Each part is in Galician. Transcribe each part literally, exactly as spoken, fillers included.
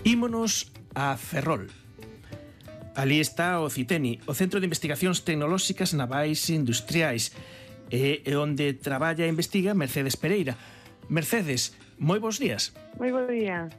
Ímonos a Ferrol. Ali está o CITENI, o Centro de Investigacións Tecnolóxicas Navais e Industriais, e onde traballa e investiga Mercedes Pereira. Mercedes, moi bons días. Moi bo día.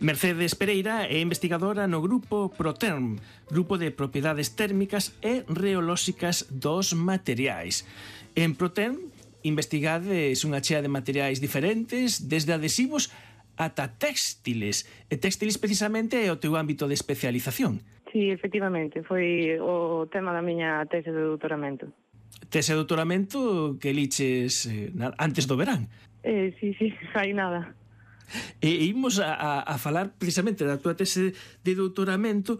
Mercedes Pereira é investigadora no grupo Proterm, Grupo de Propiedades Térmicas e Reolóxicas dos Materiais. En Proterm investigades unha chea de materiais diferentes, desde adhesivos ata téxtiles. E téxtiles precisamente é o teu ámbito de especialización. Sí, efectivamente, foi o tema da miña tese de doutoramento. Tese de doutoramento que liches eh, antes do verán. Eh, sí, sí, hai nada. E imos a, a, a falar precisamente da tua tese de doutoramento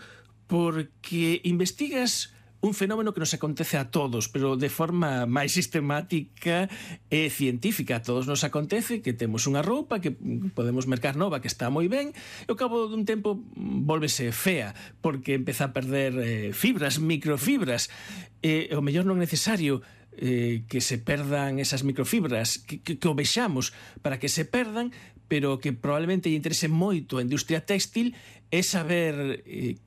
porque investigas un fenómeno que nos acontece a todos, pero de forma máis sistemática e científica. A todos nos acontece que temos unha roupa que podemos mercar nova, que está moi ben, e ao cabo dun tempo volvese fea, porque empeza a perder eh, fibras, microfibras. E o mellor non é necesario eh, que se perdan esas microfibras, que, que, que o vexamos para que se perdan, pero que probablemente lle interese moito a industria téxtil é saber eh,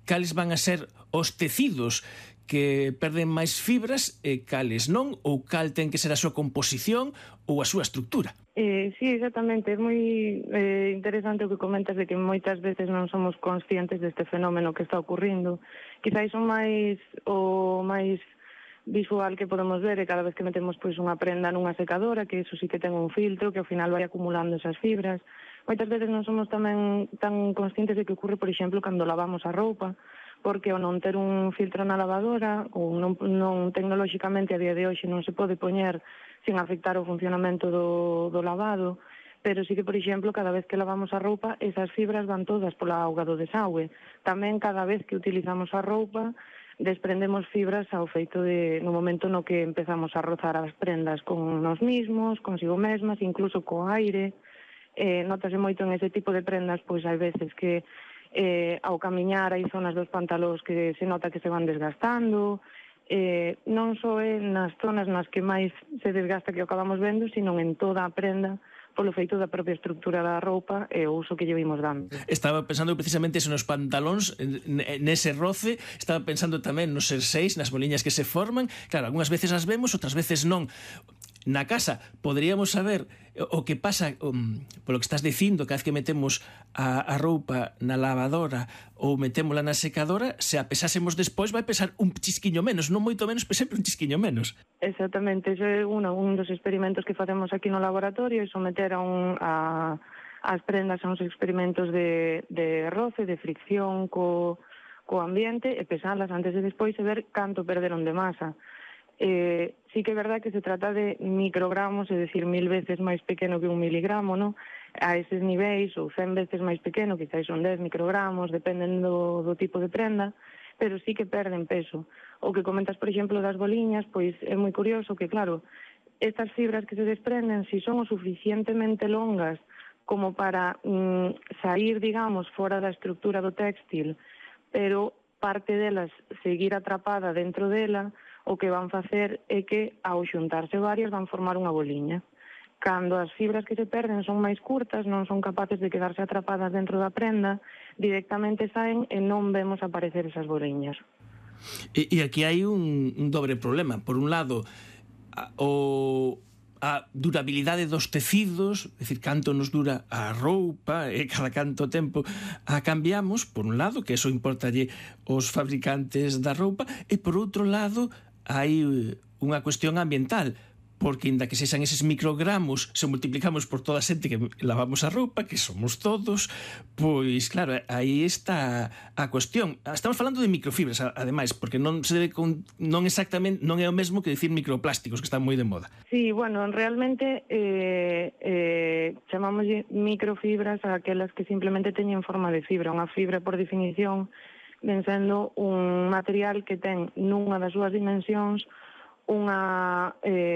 cales van a ser os tecidos que perden máis fibras e cales non, ou cal ten que ser a súa composición ou a súa estructura. Eh, sí, exactamente. É moi eh, interesante o que comentas de que moitas veces non somos conscientes deste fenómeno que está ocurrindo. Quizáis o máis o máis visual que podemos ver é cada vez que metemos pois unha prenda nunha secadora, que iso sí que ten un filtro que ao final vai acumulando esas fibras. Moitas veces non somos tamén tan conscientes de que ocurre, por exemplo, cando lavamos a roupa, porque ao non ter un filtro na lavadora, ou non, non tecnolóxicamente a día de hoxe non se pode poñer sin afectar o funcionamento do, do lavado, pero sí que, por exemplo, cada vez que lavamos a roupa, esas fibras van todas pola auga do desagüe. Tamén cada vez que utilizamos a roupa, desprendemos fibras ao feito de, no momento no que empezamos a rozar as prendas con nos mismos, consigo mesmas, incluso co aire. Eh, notase moito en ese tipo de prendas, pois hai veces que eh, ao camiñar hai zonas dos pantalóns que se nota que se van desgastando, eh, non só é nas zonas nas que máis se desgasta que o acabamos vendo, sino en toda a prenda, polo feito da propia estructura da roupa e o uso que lle vimos dando. Estaba pensando precisamente eso nos pantalóns, nese roce, estaba pensando tamén nos xerseis, nas boliñas que se forman. Claro, algunhas veces as vemos, outras veces non. Na casa poderíamos saber o que pasa um, polo que estás dicindo, cada vez que metemos a, a roupa na lavadora ou metémola na secadora, se a pesásemos despois vai pesar un chisquiño menos, non moito menos, pero sempre un chisquiño menos. Exactamente, ese é uno, un dos experimentos que facemos aquí no laboratorio, é someter a, un, a as prendas a uns experimentos de, de roce, de fricción co, co ambiente e pesalas antes e despois e ver canto perderon de masa. Eh, sí que é verdad que se trata de microgramos, é dicir, mil veces máis pequeno que un miligramo, no? A eses niveis, ou cen veces máis pequeno, quizás son dez microgramos, dependen do, do tipo de prenda, pero sí que perden peso. O que comentas, por exemplo, das boliñas, pois é moi curioso que, claro, estas fibras que se desprenden, si son o suficientemente longas como para mm, sair, digamos, fora da estructura do téxtil, pero parte delas seguir atrapada dentro dela, o que van facer é que, ao xuntarse varias, van formar unha boliña. Cando as fibras que se perden son máis curtas, non son capaces de quedarse atrapadas dentro da prenda, directamente saen e non vemos aparecer esas boliñas. E, e aquí hai un, un dobre problema. Por un lado, a, o... a durabilidade dos tecidos, é dicir, canto nos dura a roupa e cada canto tempo a cambiamos, por un lado, que eso importalle aos fabricantes da roupa, e por outro lado hai unha cuestión ambiental, porque inda que sexan eses microgramos, se multiplicamos por toda a xente que lavamos a roupa, que somos todos, pois claro, aí está a cuestión. Estamos falando de microfibras, ademais, porque non se debe con, non exactamente, non é o mesmo que dicir microplásticos, que están moi de moda. Sí, bueno, realmente eh, eh, chamamos microfibras a aquelas que simplemente teñen forma de fibra. Unha fibra, por definición, ven sendo un material que ten nunha das súas dimensións unha... Eh,